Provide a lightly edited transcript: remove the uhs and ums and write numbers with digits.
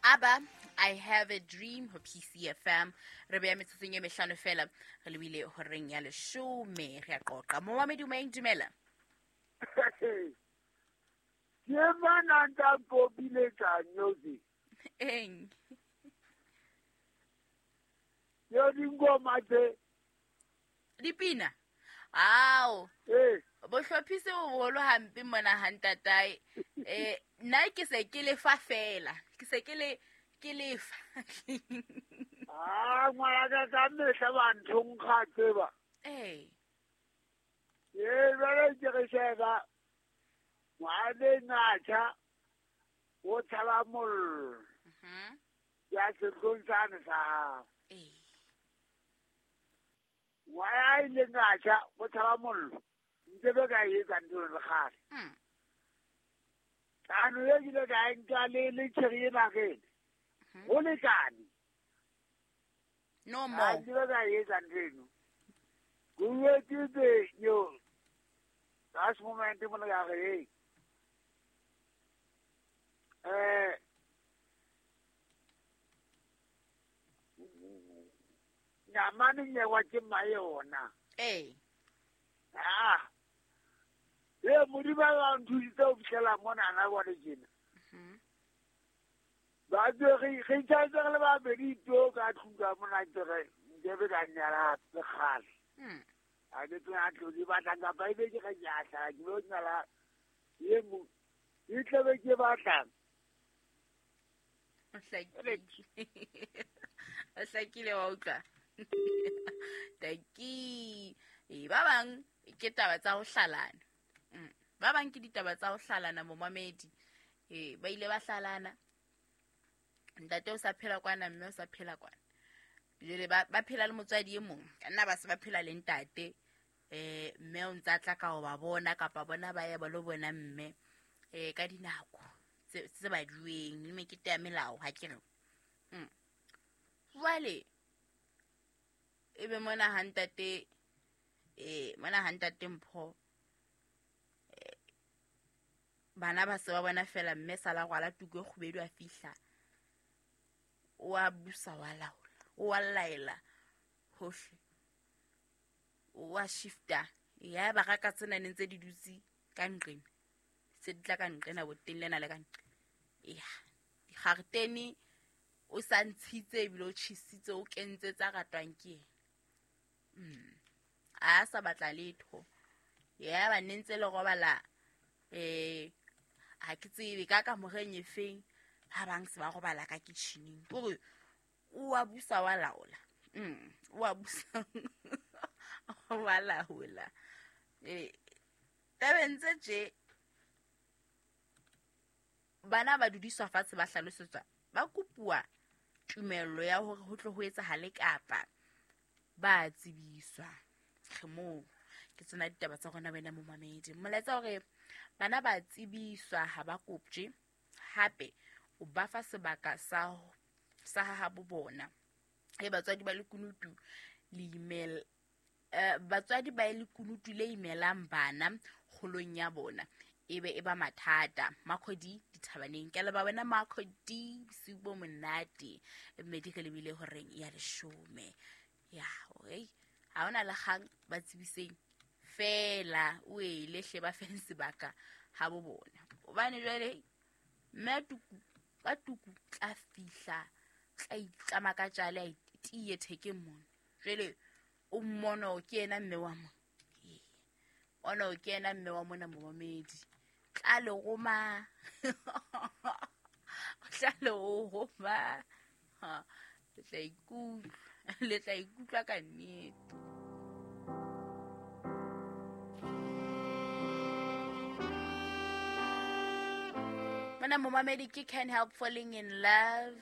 Aba I have a dream ho PCFM. Re beya metsotsong e mehlano fela re lebile horeng ya leshome, re a qoqa. Momamedi o dumela. Ke mana nta kopiletsa nyozi. Eng? Yo dingoma tse. Dipina. Ao. Eh. Bohlophisi bo boholo hampe mona ha ntatae. Nna ke se ke lefa fela. Ke se ke le ke lefa. Ah, ngwana ka ka mehla ba nthonkga tseba. Eh. Eh, jwale ke re sheba. Ngwane ngatsha o tshaba mollo. Ya setlong sane sa hao. Eh. Ngwana ile ngatsha o tshaba mollo. Ntse be ka etsa ntho le kgale. Ano ye ke ile ka nka le tjheri ena ke. Ho lekane. No more. Ntse be ka etsa ntho eno. Go ke yo. Last moment mo le ka re. Nyamane nyewa ke mayona. Eh. Ah. E modimo ba nthusitse ho fihlela mona na bone tjena. Ba re re tjhaetse le ba bedi to ka tlung mona ke re nke be ka nyala le kgale. A ke tla tlo di batla ka ba ebe ke re ke a hlala ke lo nyala ye mo e tlabe ke batlang. O hlakile wa utlwa. Taki. E ba bang ke taba tsa ho hlalana. Ba bang ke ditaba tsa ho hlalana momamedi. Ba ile ba hlalana. Ntate o sa phela kwana, mme o sa phela kwana. Jwale ba phela le motswadi e mong. Ka nna ba se ba phela le ntate. Mme o ntsa tla ka ho ba bona kapa bona ba ya ba lo bona mme ka dinako tse ba dueng le mekete ya melao ha ke re. Jwale ebe mona ha ntate mona ha ntate Mpho bana ba se ba bona fela mme sala rwala tuku e kgubedu a fihla. O a busa wa laola, o a laela hohle. O a shifta. Ya ba raka tsena ne ntse di dutse ka nqena. Se di tla ka nqena boteng lena le ka nqena. Ya, digaretene o sa ntshitse ebile o tjhisitse o kentse tsa ratwang ke yena. A sa batla letho. Ya ba ne ntse le robala ha ke tsebe ka kamoreng e feng ha bang se ba robala ka kitchening. Hore o a busa wa laola. O a busa wa laola. Tabeng tse tje bana ba dudiswa fatshe ba hlalosetswa ba kopuwa tumello ya hore ho tlo ho etsahale kapa ba tsebiswa. Re moo ke tsena ditaba tsa rona wena momamedi. Molaetsa hore bana ba tsebiswa ha ba koptje, hape o ba fa sebaka sa ha bo bona. Batswadi ba lekunutu le email batswadi ba lekunutu le imelang bana kgolong ya bona ebe e ba mathata. Makhodi dithabaneng ke leba wena Makhodi bosiu bo monate mme di re lebile horeng ya leshome. Ya okay ha ona le kgang ba tsebiseng fela o ele hle ba feng sebaka ha bo bona. Hobane jwale mme tuku ka tuku tla fihla tla itlama ka tjale a tiye thekeng mona. Jwale o mmono ke yena mme wa mona. Ono ke yena mme wa mona momamedi. Tla le roma. Tla le roma. Ha, le tla ikutlwa ka nnete. Mona momamedi ke Can't Help Falling in Love.